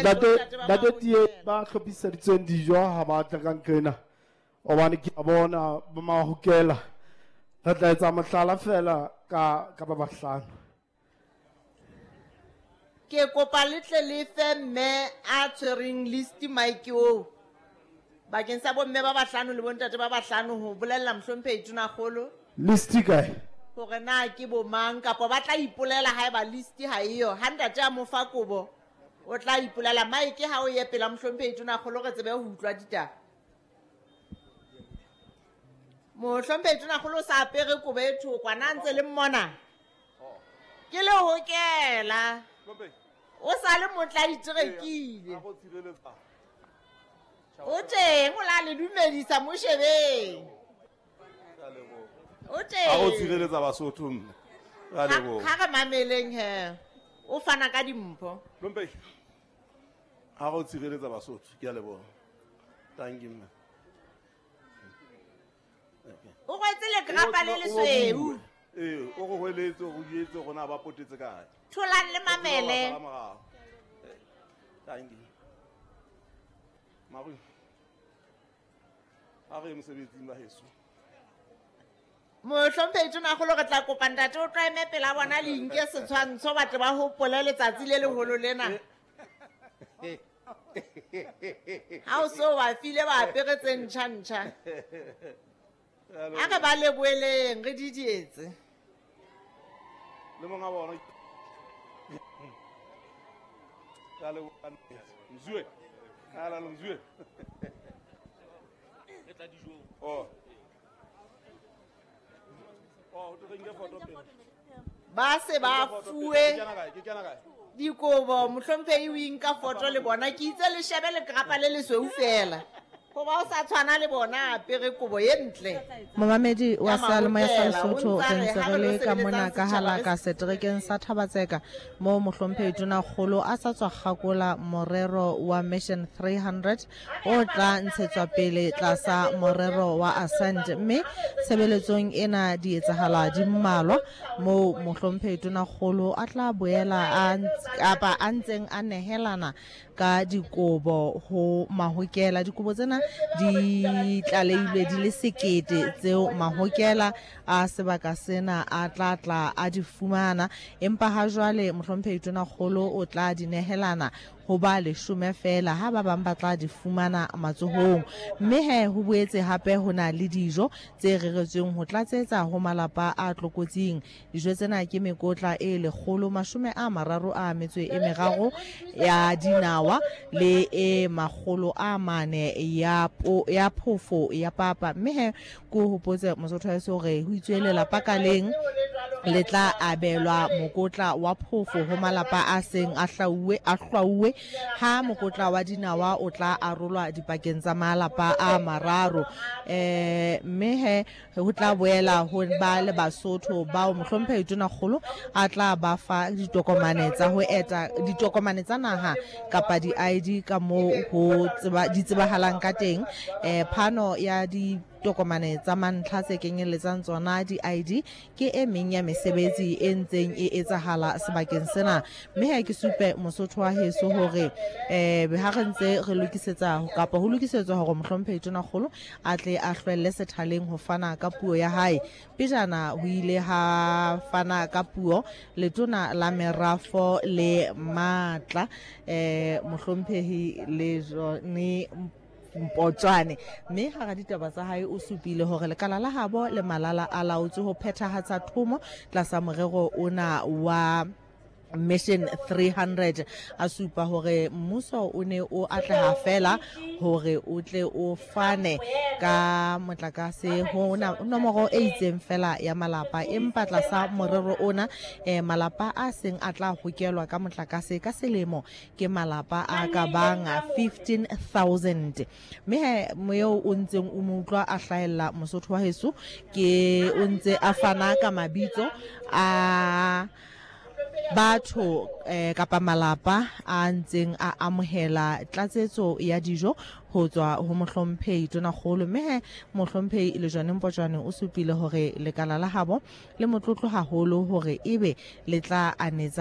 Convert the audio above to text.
Ntate Ntate Tie ba hlophiseditsweng dijo ha ba tla ka nqena hobane ke a bona ba mahokela. Re tla etsa mohlala fela ka ka ba bahlano. Ke kopa le tle le fe mme a tshwereng list mic oo bakeng sa bomme ba bahlano le bontate ba bahlano ho bolella mohlomphehi Tonakgolo List e kae? hore na ke bo mang kapa ba tla ipolela haeba list ha eyo. Ha ntate a mo fa kobo o tla ipolela. Mike ha o ye pela mohlomphehi Tonakgolo re tsebe ho utlwa ditaba. Mohlomphehi Tonakgolo o sa apere kobo e thokwa na ntse le mmona? Ke le hokela. O sa le motla iterekile. O teng o la le dumedisa mo shebeng. O A go teng. tshireletsa Basotho mme. Ra leboha. Ha re mameleng he. O fana ka dimpho. Hlomphehi. Ha go tshireletsa Basotho, ke a leboha. Thank you mme. O rwetse lekrapa le lesweu. Ee, o go hweletse, o go jwetse gore na ba potetse kae. Tholang le mamele. Thank you. Maru. A re ye mosebetsing ba heso. Mohlomphehi Tonakgolo re tla kopa ntate o tlo eme pela bona le inke setshwantsho ba tle ba hopole letsatsi le leholo lena. Ha o so ba file ba apere tse ntjha ntjha. A re ba leboeleng re didietse. Le monga bona. Ka leboha. Mzue. Ala lo mzue. Re tla dijong. Oh. Oh, re nke photo pele. Ba se ba fuwe Ke kena kae? Ke kena kae? dikobo mohlomphehi o inka foto le bona ke itse le shebe lekrapa le lesweu fela goba o sa tshwana le bona a apere kobo ye ntle. Momamedi wa Ya seyalemoya sa mahokela, o Lesotho ntsa re re ntse ha re re lo le ka mona sebeletsang ka setjhaba hala re ka seterekeng sa Thabatseka moo mohlomphehi Tonakgolo a sa tswa kgakola morero wa Mission 300 o tla ntshetswa pele tlasa morero wa Ascend mme tshebeletsong ena di etsahala di mmalwa moo mohlomphehi Tonakgolo a tla boela a kapa a ntseng a nehelana ka dikobo ho mahokela. Dikobo tsena di tlalehilwe di le sekete tseo mahokela a sebaka sena a tla tla a di fumana, empa ha jwale mohlomphehi Tonakgolo o tla di nehelana ho ba leshome feela ha ba bang ba tla di fumana matsohong. Mme he ho boetse hape ho na le dijo tse reretsweng ho tlatsetsa ho malapa a tlokotsing. Dijo tsena ke mekotla e 133 ya dinawa le e 400 ya po, ya phofo ya papa. Mme he ko hopotse Mosotho wa heso hore ho itswe lelapa ka leng le tla abelwa mokotla wa phofo ho malapa a seng a hlauwe a hlwauwe ha mokotla wa dinawa o tla arolwa dipakeng tsa malapa a mararo. Eh mme he ho tla boela ho ba le Basotho bao mohlomphehi Tonakgolo a tla ba fa ditokomane tsa ho eta ditokomane tsa naha kapa di-ID ka moo ho tseba di tsebahalang ka teng. Eh phano ya ditokomane tsa mantlha tse kenyelletsang tsona di-ID ke e meng ya mesebetsi e ntseng e etsahala sebakeng sena. Mme ha ke supe Mosotho wa heso hore eh ha re ntse re lokisetsa kapa ho lokisetswa hore mohlomphehi Tonakgolo a tle a hlwelle sethaleng ho fana ka puo ya hae. Pejana ho ile ha fana ka puo letona la merafo le matla eh mohlomphehi Lejone Mpotswane, mme hara ditaba tsa hae o supile hore lekala la habo le malala a laotswe ho phethahatsa thomo tlasa morero ona wa Mission 300. A supa hore mmuso o ne o atleha fela hore o tle o fane ka motlakase ho nomoro e itseng fela ya malapa, empa tlasa morero ona eh, malapa a seng a tla hokelwa ka motlakase ka selemo ke malapa a ka bang 15,000. Mme he moeo o ntseng o mo utlwa a hlahella Mosotho wa heso ke o ntse a fana ka mabitso a batho eh, kapa malapa a ntseng a amohela tlatsetso ya dijo ho tswa ho mohlomphehi Tonakgolo. Mme he mohlomphehi Lejone Mpotjwane o supile hore lekala la habo le motlotlo haholo hore ebe le tla anetsa